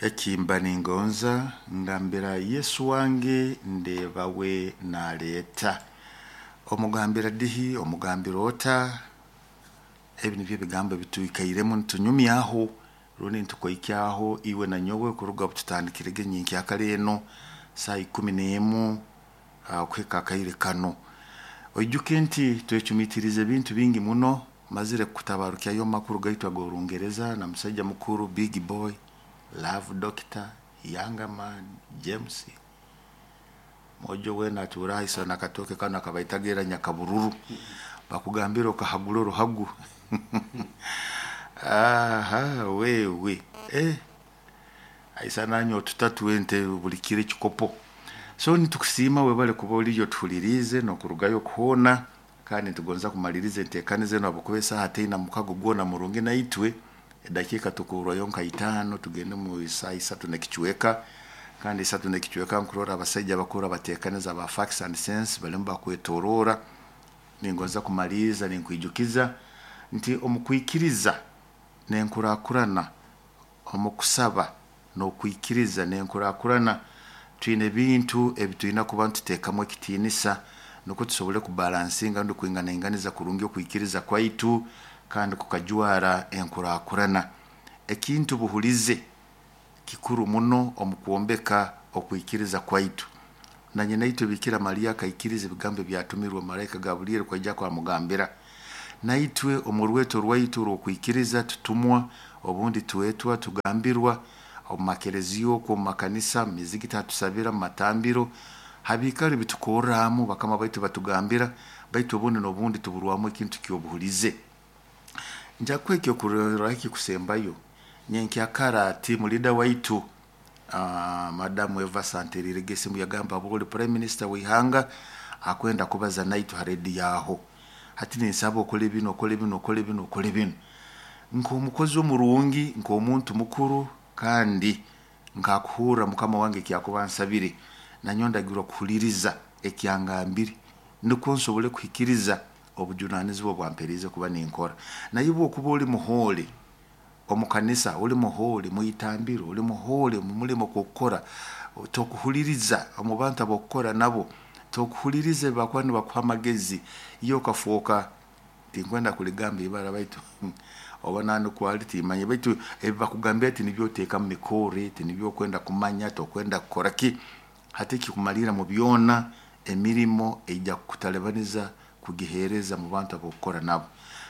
Ekimba ningonza ngambira Yesu wange ndeeba we naleeta. Omugambira dihi, omugambira ota? Ebi nibyo ebigambo ebitwikairemu nitunyumyaho rundi nitukoikyaho iwe na nyowe kuruga obututandikirege nyenkyakara enu saaha 11 okuhika akaire kanu. Oijuke nti twecumiitiriize ebintu bingi muno, mazire kutabarukyayo omu makuru gaitu ag'Orungereza na musaija mukuru Big Boy, Love Doctor, Younger Man, James, mwojo weena atuura haiso n'akatooke kanu akabaitaga ira Nyakabururu, bakugambira okahagura oruhagu aha wewe eh, aisa nanywa otutatu ente buli kiro ekikopo. So nitukusiima webale kuba oriyo otuhuliriize n'okurugayo kuhoona, kandi nitugonza kumaliriza enteekaniza enu habwokuba esaaha teina mukago gwona murungi naitwe, edakiika tukurwayo nka itaano tugende mu saaha isatu n'ekicweka, kandi isatu n'ekicweka nkurora abasaija abakuru abateekaniza aba Facts and Sense balimu bakwetoroora. Ningonza kumaliriza ninkwijukiza nti omu kwikiriza n'enkurakurana, omu kusaba n'okwikiriza n'enkurakurana, twine ebintu ebi twina kuba nituteekamu ekitiinisa nukwo tusobole kubalansinga rundi kwinganainganiza kurungi okwikiriza kwaitu kandi kukajwara enkurakurana. Ekintu buhulize kikuru muno omu kwombeka okwikiriza kwaitu. Na nyinaitwe Biikira Mariya akaikiriza ebigambo ebyatumirwe maraika Gaburiyeri kwija kwamugambira. Naitwe omu rweto rwaitu orw'okwikiriza tutumwa, obundi twetwa, tugambirwa omu makereziya okwo, omu makanisa, mu mizigiti hatusabira, mu matambiro, ha biikaro ebitukorramu bakama baitu batugambira, baitu obundi n'obundi tuburwamu ekintu ky'obuhulize. Nja kukuha ekyokurorraho ekikusembayo, nyenkyakara team leader waitu Madamu Eva Santeriirege esimu yagamba habwokuba oli Prime Minister w'ihanga akwenda kubaza naitwe ha rediyo aho. Hati ninsaba okole binu, okole binu, okole binu, okole binu. Nk'omukozi omurungi, nk'omuntu mukuru kandi nkakuhurra mukama wange eki akuba ansabire, nanyowe ndagirwa kuhuliriza eki angambire nukwo nsobole kuhikiriza obujunaanizibwa obu amperiize kuba ninkora. Naye obu okuba oli muhoole omu kanisa, oli muhoole mwitambiro, oli muhoole omu mulimo ogw'okukora, tokuhuliriza omu bantu ab'okukora nabo, tokuhuliriza ebi bakuba nibakuha amagezi, iwe okafooka, tinkwenda kuligamba ibara baitu oba nandikwo ali timmanyire, baitu ebi bakugambira tinibyo oteeka mu mikorre, tinibyo okwenda kumanya, tokwenda kukora ki. Hati ekikumalirra mu byona, emirimo eija kukutalibaniza kugiheereza mu bantu ab'okukora nabo.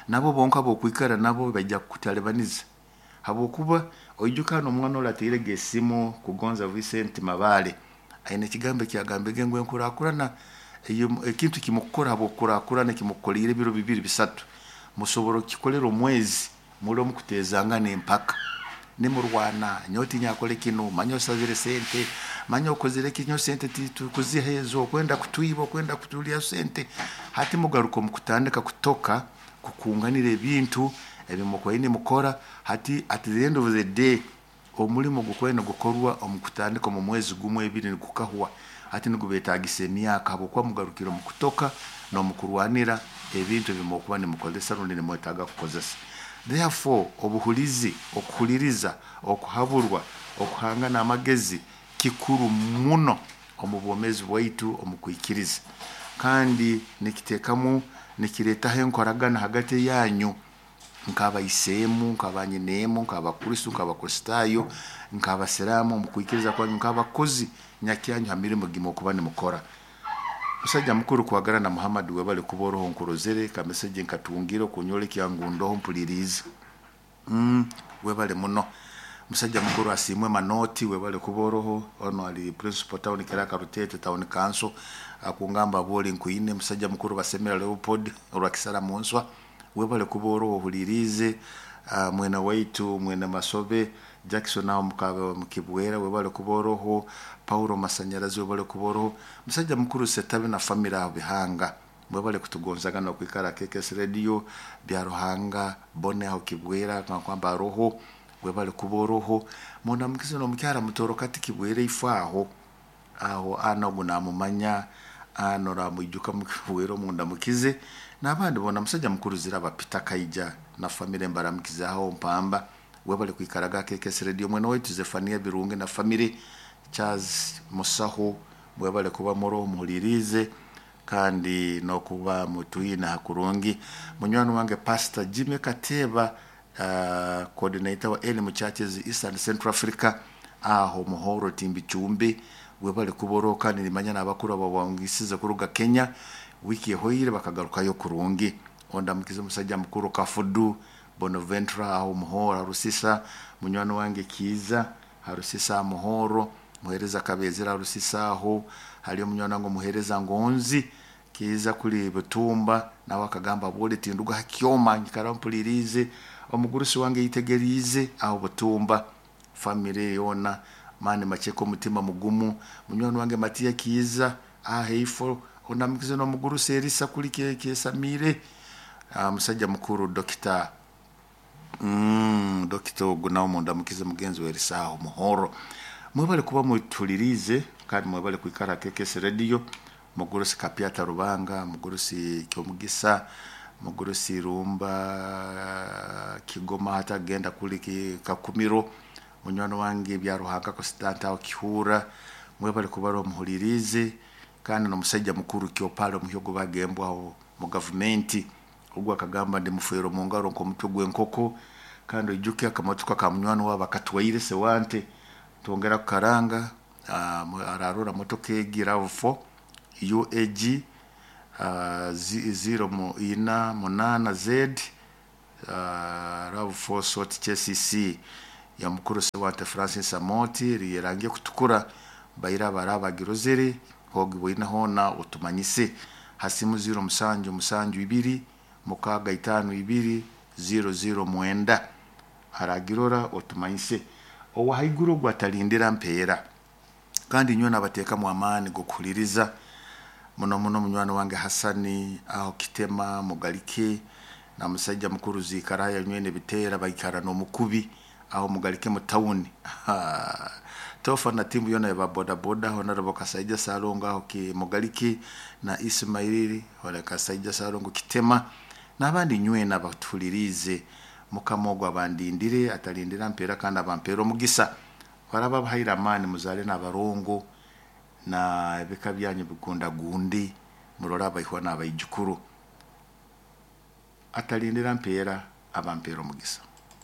Nabo bonka ab'okwikara nabo baija kukutalibaniza habwokuba oijuka hanu omwana oli atairege esimu Kugonza Vincent Mabale, aine ekigambo eki yagambire ngu enkurakurana ekintu eki mukukora habw'okukurakurana eki mukukoliire ebiro bibiri bisatu, musobora kukikolera omwezi muli omu kuteezangana empaka, nimurwana, nyowe tinyakole kinu, manya osabire sente, manya okozire ki, nyowe sente titukuziha ezo, okwenda kutwiba, okwenda kutulya sente. Hati mugaruka omu kutandika kutoka, kukunganira ebintu ebi mukubaire nimukora, hati at the end of the day omulimo gukubaire nigukorwa omu kutandika omu mwezi gumu ebiri nigukahwa, hati nigubeetaagisa emyaka habwokuba mugarukire omu kutoka n'omu kurwanira ebintu ebi mukuba nimukozesa rundi nimwetaaga kukozesa. Therefore obuhulizi, okuhuliriza, okuhaburwa, okuhangana amagezi kikuru muno omu bwomeezi bwaitu omu kwikiriza. Kandi nikiteekamu, nikireetaho enkoragana hagati yanyu nk'abaiseemu, nk'abanyineemu, nk'Abakristo, nk'Abakristaayo, nk'Abasiraamu omu kwikiriza kwanyu, nk'abakozi nyakyanyu ha mirimo gi mukuba nimukora. Musaija mukuru Kwagarana Muhammad webale kuba oroho nkurozere, ka message nkatungire okunyolekya ngu ndoho mpuliriize. Webale muno. Musaija mukuru Asiimwe Manoti webale kuba oroho, onu ali Principal Town Clerk Ruteete Town Council, akungamba bwoli nkwine. Musaija mukuru Basemera Leopold orwa Munswa, webale kuba oroho ohuliriize. Mwene waitu mwene Masobe Jackson aho Mukibwera webale kuba oroho. Paulo Masanyarazi webale kuba oroho. Musaija mukuru Setabi na family aho Bihanga, mwebale kutugonzagana okwikara KKS Radio, Byaruhanga Bone aho Kibwera nkakwamba aroho, webale kuba oroho. Mundamukize n'omukyara Mutoro kati Kibwera ifo aho, aho ana ogu namumanya, ana oramwijuka Mukibwera omundamukize, n'abandi boona. Musaija mukuru Ziraba Peter Kaija na family mbaramukize aho Mpamba. Webale kwikaraga KKS Radio. Mwene waitu Zefania Birungi na family Charles Musaho, mwebale kuba muro muhulirize kandi nokuba mutwine hakurungi. Munywani wange Pastor Jimmy Kateba, coordinator wa Elimu Churches East and Central Africa aho Muhoro Timbi Chumbi, webale kuboro kandi nimanya n'abakuru ababangisize kuruga Kenya wiki ehoire bakagarukayo kurungi. Ondamukize musajja mukuru Kafudu Bonaventura aho Muhoro Harusisa, munywani wange Kiiza Harusisa Muhoro, muhereza Kabezera Harusisa aho hali omunywani wange muhereza Ngonzi Kiiza kuli Butumba, nawe akagamba bwole tinduga hakyoma nyikara mpulirize omugurusi wange yitegerize aho Butumba, family yona mani macheko omutima mugumu. Munywani wange Matiya Kiiza aheifo ondamukize n'omugurusi Erisa kuli Kesamire, musajja mukuru Dokita Dokita ogu nawe mundamukize mugenzi we Erisa aho Muhoro. Mwebale kuba mutulirize kandi mwebale kwikara KKS Radio. Mugurusi Kapyata Rubanga, mugurusi Kyomugisa, mugurusi Rumba Kigoma hatagenda kuli Kakumiro, munywani wange bya Ruhanga Constanta aho Kihura, mwebale kuba muhulirize kandi n'omusajja mukuru Kyopale omuhyogo bagembwa aho mu gavumenti ogwo akagamba ndi mufeero mu ngaro nk'omutwe gw'enkoko. Kandi oijuke akamotoka ka munywani wabo akatwaire sewante twongera kukaranga, ararora motoka egi RAV4 UAG 048 Z, RAV4 sort KCC ya mukuru Sewante Francis Amoti rirangiye kutukura baira barabagirozere hogi bwine hona utumanyise hasimu 0 7 7 2 6 5 2 0 0 9 aragirora otumanyise owahaiguru gwatalindira mpeera. Kandi nyowe nabateekamu amaani g'okuhuliriza muno muno munywani wange Hasani aho Kitema Mugalike na musajja mukuru Zikaraya nywene bitera baikara n'omukubi aho Mugalike mu tawuni tofa na timu yona ya boda boda honorable Kasaija Salongo aho ki Mugalike na Ismaili wala Kasaija Salongo Kitema n'abandi nywena abatuhulirize. Mukama ogwo abandindire atalindira mpeera kandi abampera omugisa. Baraba bahaire amaani muzale n'abarongo na ebika byanyu bigundagundi murole abaihwa n'abaijukuru. Atalindira mpeera abampera omugisa.